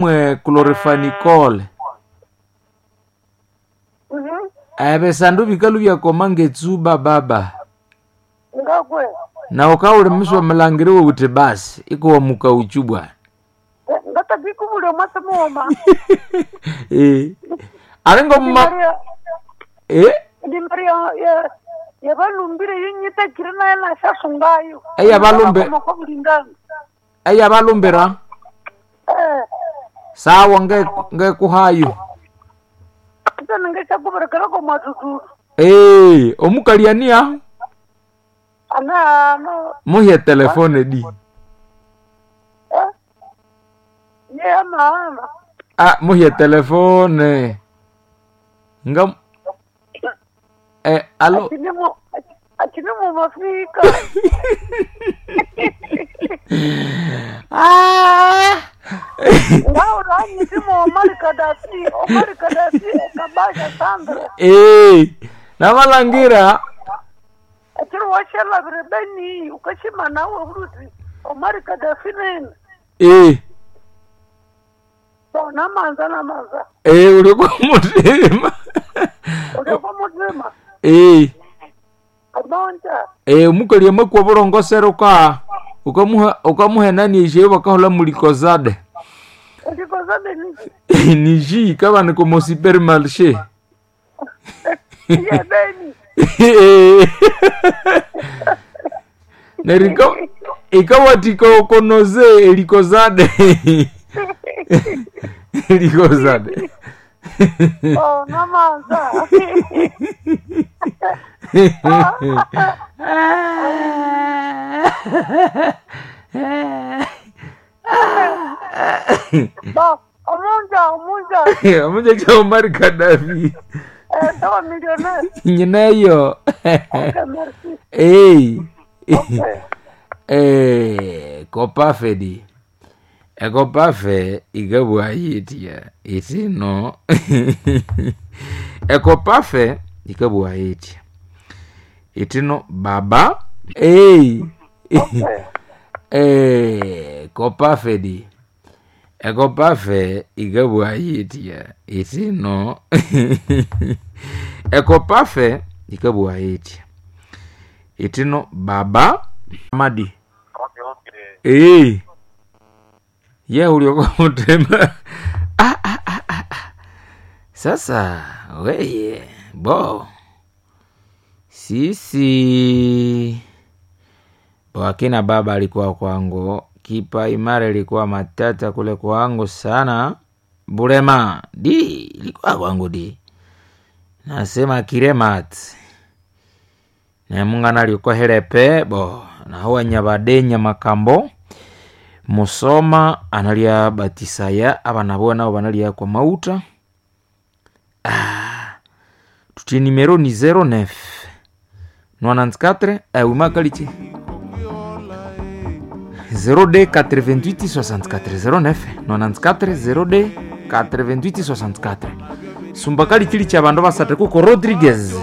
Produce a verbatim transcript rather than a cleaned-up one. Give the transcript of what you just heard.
Mwe chlorphenicol Mhm. ebisandu bikalhu byakoma ngetsuba baba Ngakwe. na ukawulimiswa mulangiri wuthi basi ikuwamuka uchu bwana Ngatakikubulya mwasi mughuma. Eh. alingo mma Maria eh ndi Maria ya yabalumbire yinyitakire naye nashasungayo. Eyabalumbe- Bulingana. eyabalumbira Eh. sawa nge ngekuhayo Ita ningeshakuberekera ko mwatuturu. Eh, omukaliania Ana no muhye telefone di eh. Ye ama ama. ah muhye telefone nga eh alo Achini mu achini mu mafika. ah Ngao ranyi simu Omar Kadafi, Omar Kadafi kabasha Sandra. eh namalangira Achiri washela birebeni ukashima nawe uruti Omar Kadafi nene. eh So namanza namanza. eh uli kumutima Uliokuwa muzima. eh Abonja. eh omukali amakwa bulongoseruka ukamuha ukamuhenani eshe bakahola mulikozade Ulikozade ni. niji kabani komo supermarché Ye beni. neriko ikawatika okonoze elikozade elikozade Oh namanza. Ba omunja omunja. omunja kya Omar Kadafi Eh sawa millionaire. nyinayo Okay merci. Ei. Okay. Eh, kopafe di ekopafe ikabwa yitya itino ekopafe ikabwa yitya itino baba ei Okay. eh, kopafe di ekopafe ikabwa yitya itino ekopafe ikabwa yitya itino baba madi Okay, okay. Ee. Ye uliokuwa mutema. Ah, ah, ah, ah, ah. Sasa weye bo sisi bo akina baba alikuwa kwangu kipa imara ilikuwa matata kule kwangu sana bulema di ilikuwa kwangu di nasema kiremat nemungana likohelepe bo nahuwa nyabadenya makambo musoma analya batisaya abana bo nabo banalya kwa mauta ah, tutie nimero ni zéro neuf quatre-vingt-quatorze eh, wimakalichi zéro deux quatre-vingt-huit soixante-quatre zéro neuf quatre-vingt-quatorze zéro deux quatre-vingt-huit soixante-quatre sumbakali chili cha bandu basate kuko Rodriguez.